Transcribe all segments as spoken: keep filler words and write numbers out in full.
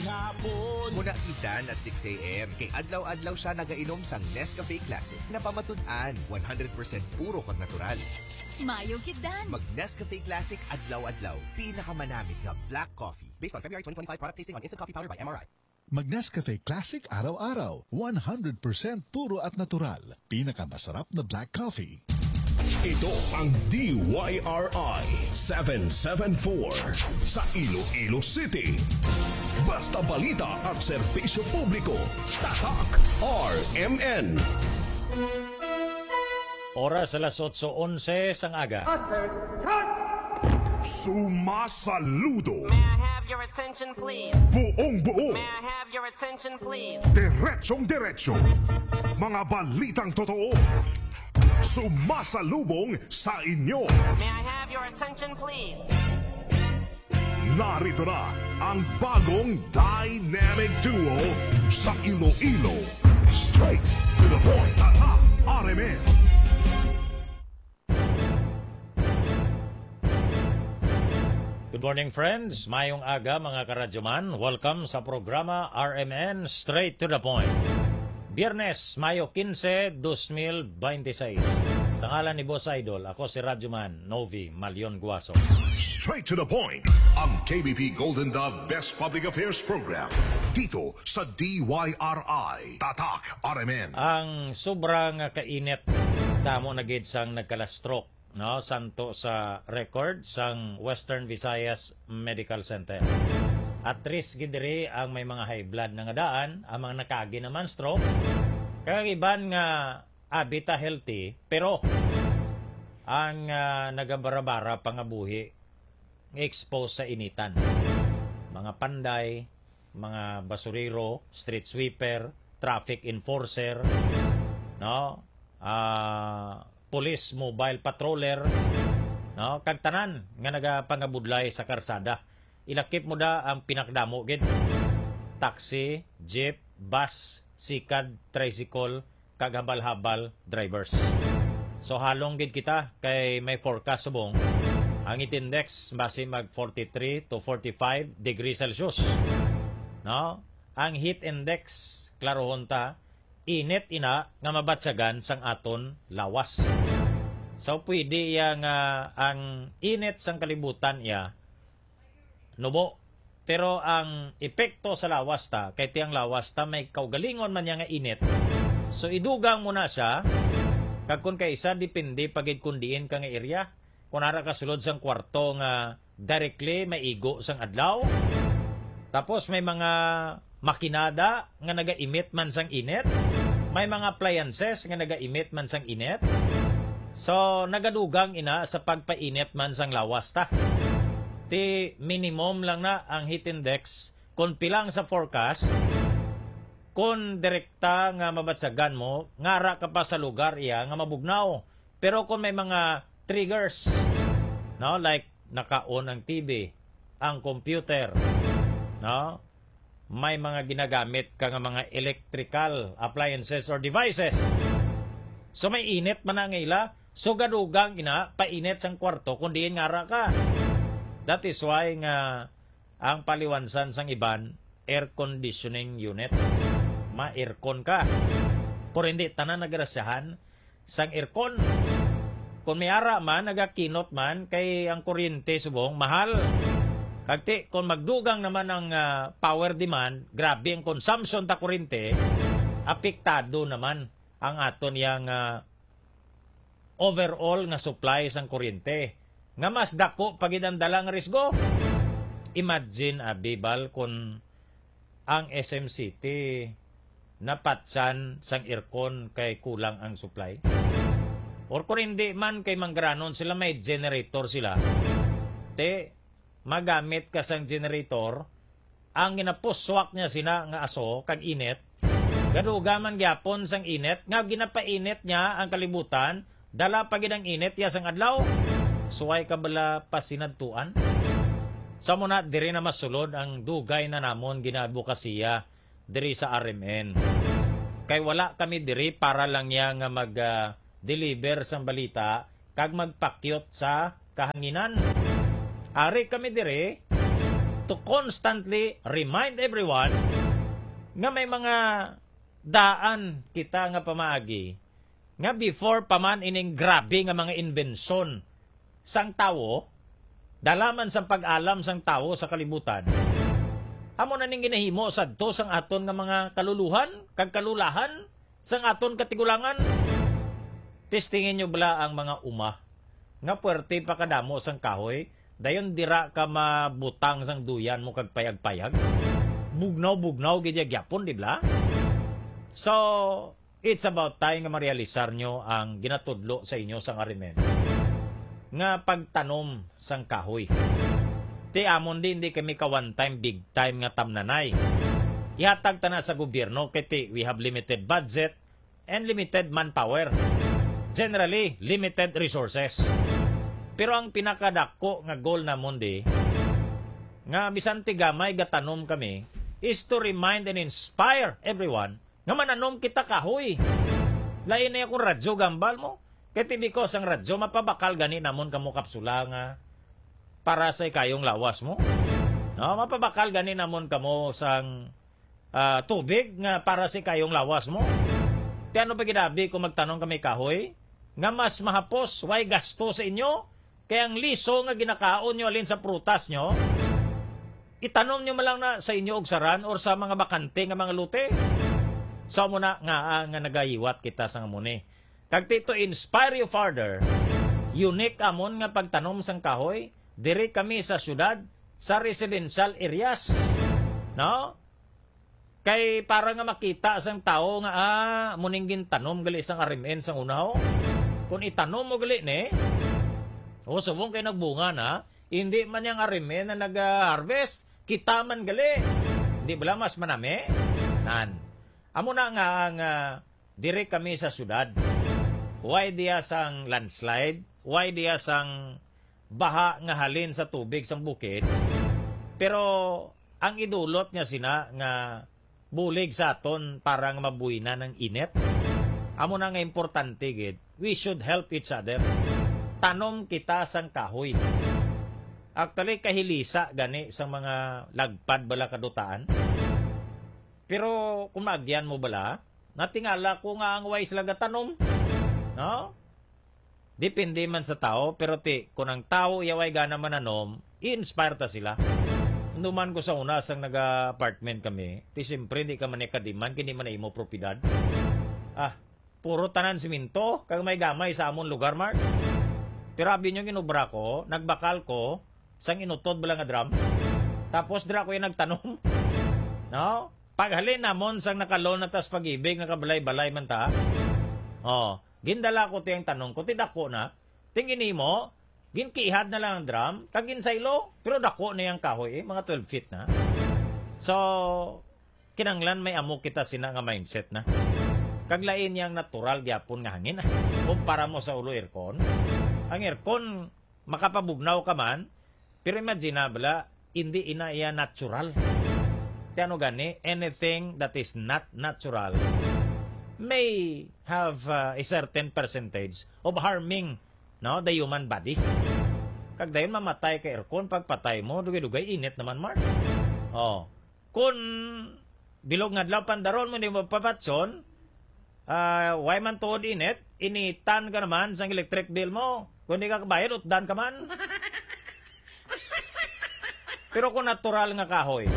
Hapon. Muna si Dan at six a m. Kay adlaw-adlaw siya nagainom sang Nescafe Classic. Napamatud-an, one hundred percent puro kag natural. Mayo gid, Dan. Mag Nescafe Classic adlaw-adlaw. Pinakamanamit nga black coffee. Based on February twenty twenty-five product tasting on Instant Coffee Powder by M R I. Mag Nescafe Classic araw-araw. One hundred percent puro at natural. Pinakamasarap na black coffee. Ito ang D Y R I seven seven four sa Iloilo City. Basta balita at serbisyo publiko, Tatak R M N. Oras alas otso onse sang aga. Sumasaludo. May I have your attention, please? Buong buo. May I have your attention, please? Diretsong diretso. Mga balitang totoo. Sumasalubong sa inyo. May I have your attention, please? Narito na ang bagong dynamic duo sa Iloilo. Straight to the point. Tatak R M N. Good morning, friends. Mayong aga, mga karadyoman. Welcome sa programa R M N Straight to the Point. Biyernes, Mayo kinse, dos mil bente seis. Sa ngalan ni Boss Idol, ako si Radyoman Novi Malion Guaso. Straight to the Point, ang K B P Golden Dove Best Public Affairs Program. Dito sa D Y R I, Tatak R M N. Ang sobra nga kainit, damo na gid sang nagkala-stroke, no, santo sa record sang Western Visayas Medical Center. At risk gid diri ang may mga high blood na nga daan, ang mga nakaagi naman stroke, kag iban nga abi ta healthy, pero ang, ah, nagabarabara pa nga buhi nga expose sa initan. Mga panday, mga basurero, street sweeper, traffic enforcer, no? Ah, police mobile patroller, no? Kag tanan nga nagapangabudlay sa karsada. Ilakip mo da ang pinakadamo gid. Taxi, jeep, bus, sikad, tricycle, kag habal-habal drivers. So, halong gid kita kay may forecast subong ang heat index basi mag forty-three to forty-five degrees Celsius. No? Ang heat index, klarohon ta, init ina nga mabatyagan sang aton lawas. So, pwede iya nga ang init sang kalibutan iya nubo. Pero ang epekto sa lawas ta, kay ti ang lawas ta may kaugalingon man niya nga init. So, idugang mo na siya, kag kun kaisa, depende pa gid kun diin ka nga area. Kun ara ka sulod sang kwarto nga directly maigo sang adlaw, tapos may mga makinada nga naga-emit man sang init, may mga appliances nga naga-emit man sang init, so nagadugang ina sa pagpainit man sang lawas ta. Ti minimum lang na ang heat index. Kung pilang sa forecast, kung direkta nga mabatyagan mo, ngara ka pa sa lugar iya nga mabugnaw. Pero kung may mga triggers, no, like naka-on ang T V, ang computer, no, may mga ginagamit ka nga mga electrical appliances or devices. So may init man na nga ila, so gadugang ina painit sang kwarto kung diin ngara ka. That is why nga ang paliwansan sang iban, air conditioning unit. Ma-aircon ka. Pero hindi tanan nagrasyahan sang aircon. Kung may ara man, nagakinot man, kay ang kuryente subong mahal. Kag ti, kung magdugang naman ang, ah, power demand, grabe ang consumption ta kuryente, apektado naman ang aton yang, ah, overall nga supply sang kuryente, nga mas dako pa gid ang dala nga risgo. Imagine, abi, Bal, kun ang S M City napatsan sang aircon kay kulang ang supply. Or kung hindi man, kay manggaranon sila, may generator sila. Te, magamit ka sang generator, ang ginapuswak niya sina nga aso kag init, gadugang man gyapon sang init nga ginapainit niya ang kalibutan, dala pa gid ang init iya sang adlaw. Suway ka bala pasinadtuan? Sa mo na, diri na masulod ang dugay na namon ginaadbokasiya diri sa R M N. Kay wala kami diri para lang niya nga mag, ah, deliver sang balita kag magpakyot sa kahanginan. Ari kami diri to constantly remind everyone nga may mga daan kita nga pamaagi nga before pa man ining grabe nga mga imbensyon sang tawo, dala man sang pag-alam sang tawo sa kalibutan, amo na ning ginahimo sadto sang aton nga mga kaluluhan kag kalulahan sang aton katigulangan. Testingin nyo bala ang mga uma nga puwerte pa kadamo sang kahoy, dayon dira ka mabutang sang duyan mo kag payag-payag. Bugnaw-bugnaw gid ya gyapon, di bala? So, it's about time nga marealisar nyo ang ginatudlo sa inyo sang R M N nga pagtanom sang kahoy. Ti amon di, hindi kami ka one time, big time nga tamnanay. Ihatag ta na sa gobyerno kay ti we have limited budget and limited manpower. Generally, limited resources. Pero ang pinakadako nga goal namon di, nga bisan ti gamay gatanom kami, is to remind and inspire everyone nga mananom kita kahoy. Lain na kung radyo gambal mo. Kay ti because ang radyo, mapabakal gani namon kamo kapsula nga para sa ikayong lawas mo. No, mapabakal gani namon kamo sang, ah, tubig nga para sa ikayong lawas mo. Ti ano pa gid abi kung magtanom kami kahoy nga mas mahapos, way gasto sa inyo, kay ang liso nga ginakaon nyo halin sa prutas nyo, itanom nyo man lang na sa inyo og saran or sa mga bakante nga mga lote. So, amo na nga, ah, nga nagahiwat kita sa amo ni. Kag ti to inspire you further, unique amon nga pagtanom sang kahoy diri kami sa syudad, sa residential areas, no? Kay para nga makita sang tawo nga, ah, amo ning gintanom gali sang R M N sang una, ho. Kung itanom mo gali ni, o, subong kay nagbunga na, hindi man yang R M N na nag-harvest, kita man gali. Di bala mas manami? Nan. Amo na nga ang, ah, diri kami sa syudad. Way diya sang landslide, way diya sang baha nga halin sa tubig sang bukid. Pero ang idulot niya sina nga bulig sa aton para nga mabuhinan ang init. Amo na nga importante gid, we should help each other. Tanom kita sang kahoy. Actually, kahilisa gani sang mga lagpad bala kadutaan. Pero kung maagyan mo bala, natingala ko nga ang way sila gatanom, no? Depende man sa tawo, pero ti, kung ang tawo iya way gana mananom, i-inspire ta sila. Numan ko sa una, sang naga-apartment kami, ti siyempre, di ka man ikadiman, kini man imo propiedad. Ah, puro tanan simento, kag may gamay sa amon lugar, Mark. Pero abi nyo, ginubra ko, nagbakal ko, sang inutod bala nga drum. Tapos dira ko yung nagtanom. No? Paghalin namon sang nakalon na tas pag-ibig, nakabalay-balay man ta. Oh, gindala ko tiyang tanom ko, ti dako na. Ting ini mo, ginkihad na lang ang drum, kag ginsaylo, pero dako na yung kahoy, eh, mga twelve feet na. So, kinanglan may amo kita sina nga mindset na. Kag lain yang natural gyapon nga hangin, ah. Kumpara mo sa ulo aircon, ang aircon, makapabugnaw ka man, pero imagine na bala, hindi ina iya natural. Ti ano gani, anything that is not natural may have, uh, a certain percentage of harming, no, the human body. Kag dayon mamatay ka aircon, pagpatay mo, dugay-dugay, init naman, Mark. Oh. Kun bilog nga adlaw pandaron mo, di mo papatson, ah, way man tuod init, initan ka naman sang electric bill mo. Kung di ka kabayad, utdan ka man. Pero kung natural nga kahoy,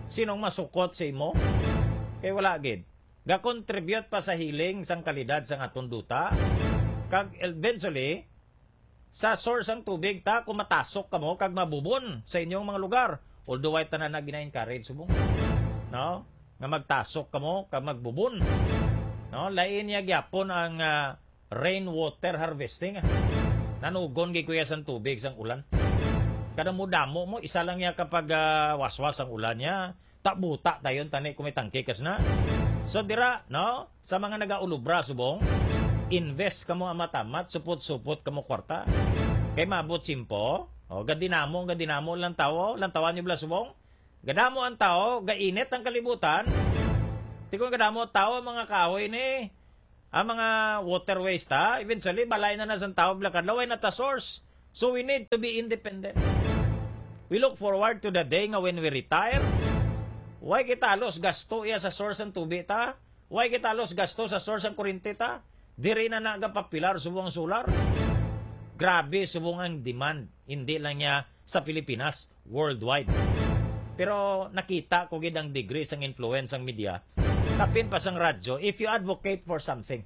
sinong masukot sa imo? Kay wala gid. Ga-contribute pa sa healing sang kalidad sang aton duta. Kag eventually, sa source sang tubig ta, kung matasok kamo kag mabubon sa inyong mga lugar. Although way tanan na gina-encourage subong, no? Nga magtasok kamo kag magbubon. No? Lain niya gyapon ang, ah, rainwater harvesting, ah. Nanugon gid kuya sang tubig sang ulan. Kada mo damo mo, isa lang niya kapag, ah, waswas ang ulan niya. Ta buta dayon tani kung may tangke kas na. So dira, no? Sa mga nagaulubra subong, invest kamo ang matamat, supot-supot kamo kwarta. Kay maabot simpo, o, gadinamo, gadinamo lang tawo, lantawan niyo bala subong. Gadamo ang tawo, gainit ang kalibutan. Ti kung gadamo tawo, mga kahoy ni, ang mga waterways ta, eventually, balay na na sang tawo, bala kadlaw, way na ta source. So we need to be independent. We look forward to the day nga when we retire, way kita halos gasto iya sa source sang tubi ta, way kita halos gasto sa source sang kuryente ta, diri na nagapapilar subong ang solar. Grabe subong ang demand, hindi lang niya sa Pilipinas, worldwide. Pero nakita ko gid ang degree sang influence sang media, kapin pa sang radyo. If you advocate for something,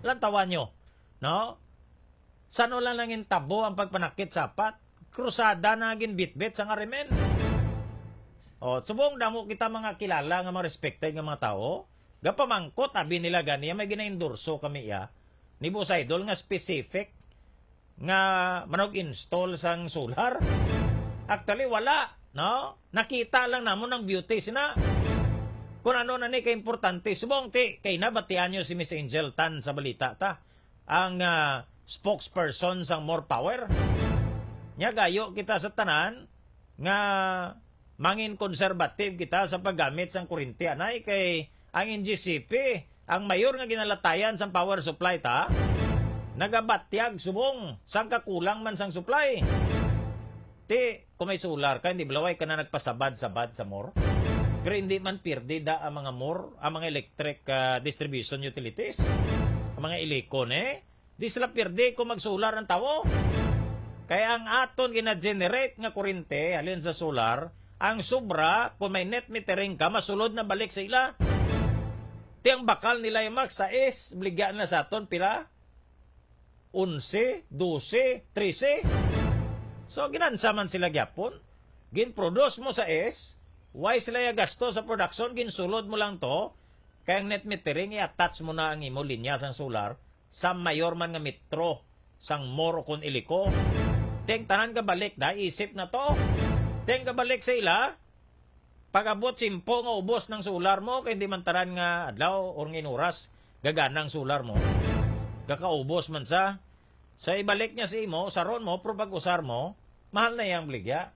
lantawan nyo, no? San-o lang nangin tabo ang pagpanakit sa apat? Krusada na ginbitbit sang R M N. O, subong damo kita mga kilala nga mga respected nga mga tawo. Gapamangkot, abi nila gani, may ginaendorso kami iya ni Boss Idol nga specific nga manog install sang solar. Actually, wala, no? Nakita lang namon ang beauty sina. Kung ano na ni kaimportante, subong ti, kay nabatian nyo si Miss Angel Tan sa balita ta, ang, ah, spokesperson sang More Power. Nya gayo kita sa tanan nga mangin conservative kita sa paggamit sang kuryente, anay, kay ang N G C P, ang mayor nga ginalatayan sang power supply ta, nagabatyag subong sang kakulang man sang supply. Ti, kung may solar ka, hindi balaway ka na nagpasabad-sabad sa More. Pero hindi man pirdi da ang mga More, ang mga electric, ah, distribution utilities, ang mga Elecon, eh. Di sila pirdi kung mag-solar ang tawo. Kaya ang aton gina-generate nga kurente halin sa solar, ang sobra, kung may net metering ka, masulod na balik sa ila. Ti ang bakal nila yung Mark, sais, baligya na sa aton, pila? Onse, dose, trese. So, ginansa man sila gyapon. Gin-produce mo sais, way sila ya gasto sa production, ginsulod mo lang to, kay ang net metering, i-attach mo na ang imo linya sang solar, sa mayor man nga metro sang More o kon Ilico. Ti ang tanan gabalik da, isip na to. Ti ang gabalik sa ila, pag-abot simpo nga ubos ng solar mo, kay di man tanan nga adlaw or nga oras gagana ang solar mo. Gakaubos man sa, sa ibalik niya sa imo, usaron mo, pero pag usar mo, mahal na yang baligya.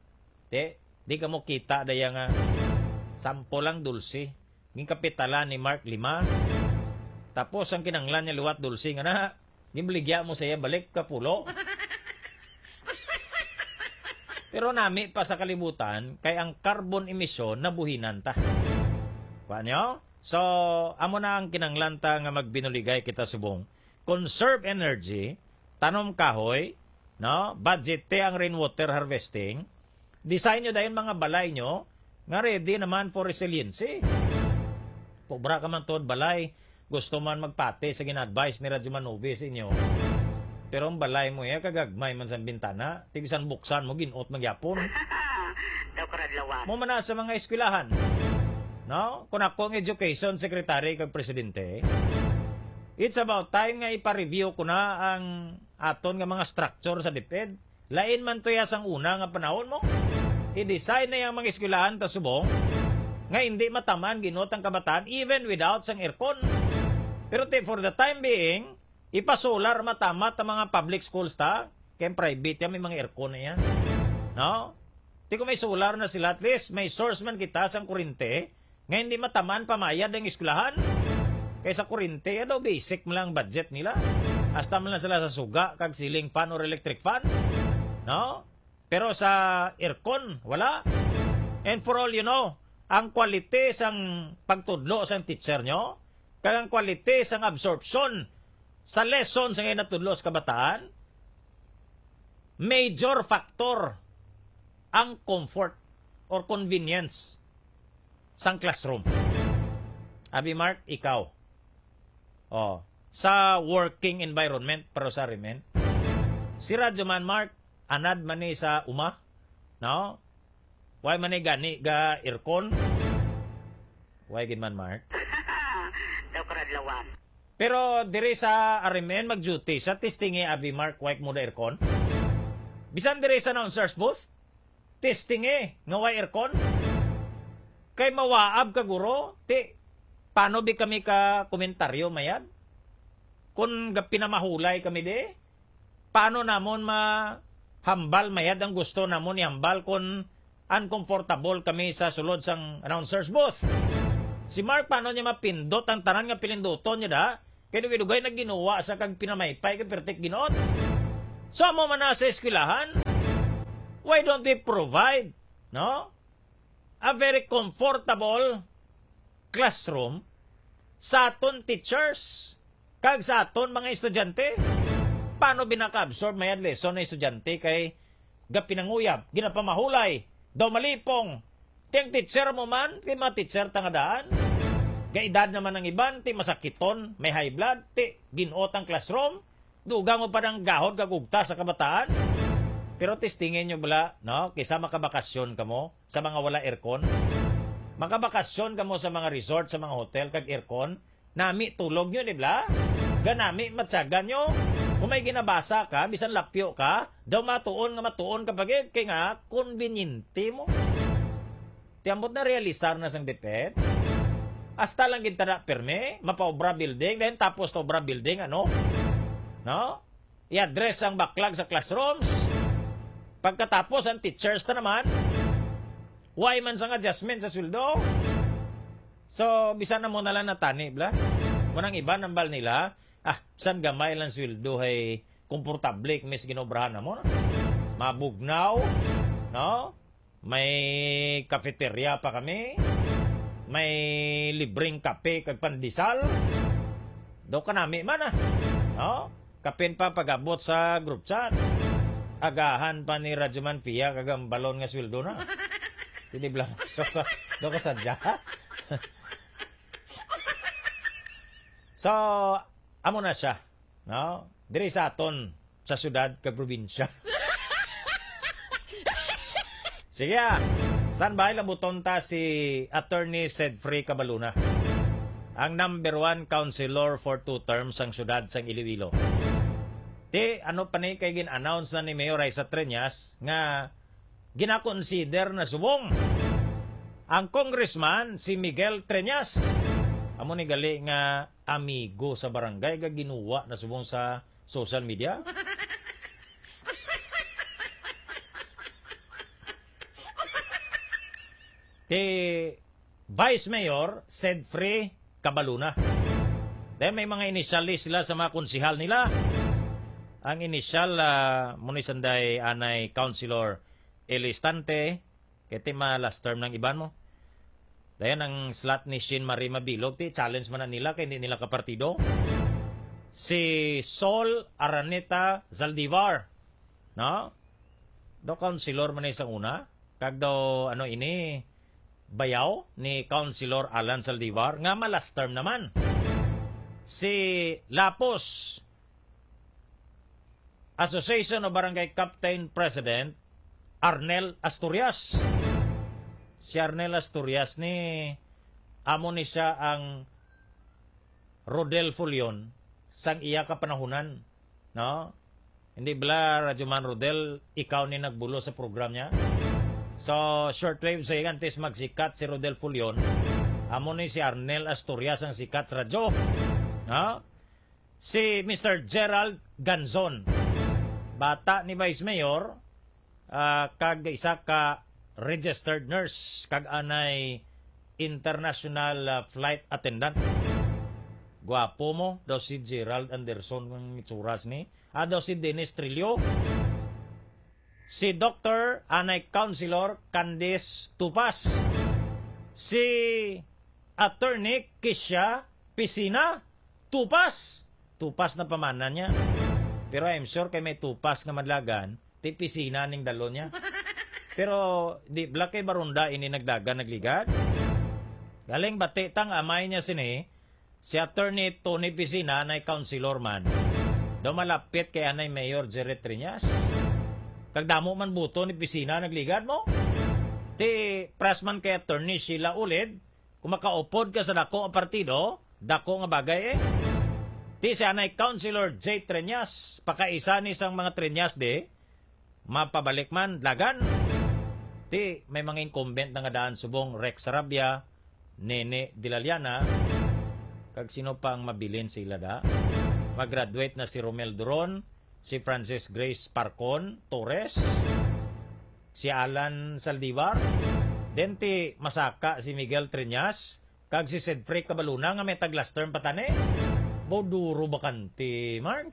Ti, di ka mo kita da yang, ah, sampo lang dulce. Ginkapitalan ni Mark lima. Tapos ang kinanglan niya liwat dulce nga na, ginbaligya mo sa iya balik ka pulo. Pero nami pa sa kalibutan, kay ang carbon emission nabuhinan ta. Kuha niyo? So, amo na ang kinanglan ta nga magbinuligay kita subong. Conserve energy, tanom kahoy, no? Budget te ang rainwater harvesting. Design nyo dayon mga balay nyo nga ready naman for resiliency. Pobra ka man tuod balay, gusto man magpati sa gina-advise ni Radyo Manobe sa inyo. Pero ang balay mo iya, kagagmay man sa bintana, ti bisan buksan mo, ginot magyapon. Daw karadlawan. Mo man na sa mga eskwelahan. No? Kung ako ang education secretary kag presidente, it's about time nga ipa-review ko na ang aton nga mga structure sa DepEd. Lain man to ya sang una nga panahon mo. I-design na yang mga eskwelahan ta subong nga hindi matamaan ginot ang kabataan even without sang aircon. Pero ti, for the time being, ipa-solar matamat ang mga public schools ta, kay private yan, may mga aircon na yan. No? Ti kung may solar na sila, at least may source man kita sang kurente, nga hindi matamaan pamayad ang eskwelahan. Kay sa kurente, ano, basic man lang budget nila. Hasta man lang sila sa suga, kag ceiling fan or electric fan. No? Pero sa aircon, wala. And for all you know, ang quality sang pagtudlo sang teacher nyo, kag ang quality sang absorption sa lesson sa ngay natudlo sa kabataan, major factor ang comfort or convenience sang classroom. Abi Mark, ikaw. Oh, sa working environment, pero sa remen. Si Radyo Man Mark, anad man ni sa uma, no? Why man ni gani ga aircon? Why gid man, Mark? Daw karadlawan. Pero diri sa R M N, mag-duty sa testing, eh, abi Mark, why mo da aircon? Bisan diri sa announcer's booth, testing, eh, nga way aircon. Kay mawaab ka, guro, ti, paano bi kami ka komentaryo mayad? Kung ga-, pinamahulay kami di, paano namon mahambal mayad ang gusto namon ihambal kung uncomfortable kami sa sulod sang announcer's booth? Si Mark, paano niya mapindot ang tanan nga pilinduton niya da? Kay dugay-dugay na ginuwa sa kag pinamaypay kag pertik ginuot. So, amo man na sa eskwelahan. Why don't we provide, no, a very comfortable classroom sa aton teachers kag sa aton mga estudyante? Paano binaka-absorb mayad lesson ang estudyante kay gapinanguyab, ginapamahulay, daw malipong? Ti ang teacher mo man, kay mga teacher tangadaan. Gaedad naman ang iban, ti masakiton, may high blood, ti ginot ang classroom. Dugang mo pa nang gahod kag ugta sa kabataan? Pero testingin nyo bala, no? Kisa makabakasyon kamo sa mga wala aircon. Makabakasyon kamo sa mga resort, sa mga hotel, kag aircon. Nami tulog nyo, di bala? Ganami matsagan nyo. Kung may ginabasa ka, bisan lapyo ka, daw matuon nga matuon ka pa gid, kay nga, konbinyente mo. Ti ambot na realisar na sang DepEd. Hasta lang gid ta na pirme, mapaobra building, then tapos ta obra building, ano? No? I-address ang backlog sa classrooms. Pagkatapos, ang teachers na naman. Why man sang adjustment sa sweldo? So, bisan na mo na lang natani, bala? Mo nang iban ang bal nila, ah, san gamay lang sweldo, hay komportable kami sa ginobrahan na mo, no? Mabugnaw, no? May cafeteria pa kami. May libreng kape kag pandesal. Daw kanami man, ah. No? Kapin pa pag-abot sa group chat. Agahan pa ni Radyoman Pia kag ang balon nga sweldo na. Hindi bala. Daw ka, daw ka sadya. So, amo na siya, no? Diri sa aton, sa syudad kag probinsya. Sige, ah. Standby lang buton ta si Attorney Sedfrey Cabaluna, ang number one councilor for two terms sang syudad sang Iloilo. Ti, ano pa ni kay gin-announce na ni Mayor Raisa Treñas nga ginakonsider na subong ang congressman si Miguel Treñas. Amo ni gali nga amigo sa barangay nga ginuwa na subong sa social media. Kay Vice Mayor Sedfrey Cabaluna. Then may mga inisyales sila sa mga konsehal nila. Ang inisyal, ah, mo ni sanday anay Councilor Elistante, kay ti ma-last term ng iban mo. Dayon ang slot ni Shin Marie Mabilog, ti challenge man na nila kay hindi nila kapartido. Si Sol Araneta Zaldivar, no? Daw councilor man ni sa una, kag daw, ano ini, bayaw ni Councilor Alan Zaldivar, nga ma-last term naman. Si Lapos, Association of Barangay Captain President Arnel Asturias. Si Arnel Asturias ni, amo ni siya ang Rodel Fullon sang iya kapanahunan, no? Hindi bala, Radyo Man Rodel, ikaw ni nagbulo sa program niya? So, shortwave sa antes magsikat si Rodel Fullon, amo ni si Arnel Asturias ang sikat sa radyo. No? Si Mister Gerald Ganzon, bata ni Vice Mayor, ah, kag isa ka registered nurse, kag anay international, ah, flight attendant. Guwapo mo daw si Gerald Anderson, ang itsuras ni. Ah, daw si Dennis Trillo. Si Doktor anay Councilor Candice Tupas. Si Attorney Kisha Pisina Tupas. Tupas na pamanan niya. Pero I'm sure kay may tupas nga madlagan, ti pisina ning dalon niya. Pero di bala kay barunda ini nagdagan nagligad. Galing bati tang amay niya sini, si Attorney Tony Pisina na councilor man. Daw malapit kay anay Mayor Jerry Triñas. Kag damo man buto ni Pisina nagligad mo. Ti pras man kay Attorney Sheila Ulid, kung makaupod ka sa dako nga partido, dako nga bagay eh. Ti si anay Councilor Jay Treñas, pakaisa ni sang mga Treñas di, mapabalik man, dagan. Ti, may mga incumbent na nga daan subong Rex Sarabia, Nene Dilaliana, kag sino pa ang mabilin sila da? Mag-graduate na si Romel Duron, si Francis Grace Parcon Torres, si Alan Saldivar, then ti masaka si Miguel Treñas, kag si Sedfrey Cabaluna nga may tag-last term pa tani. Bo duro bakante, Mark.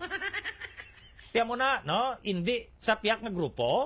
Tiyan mo na, no? Hindi sa piyak nga grupo,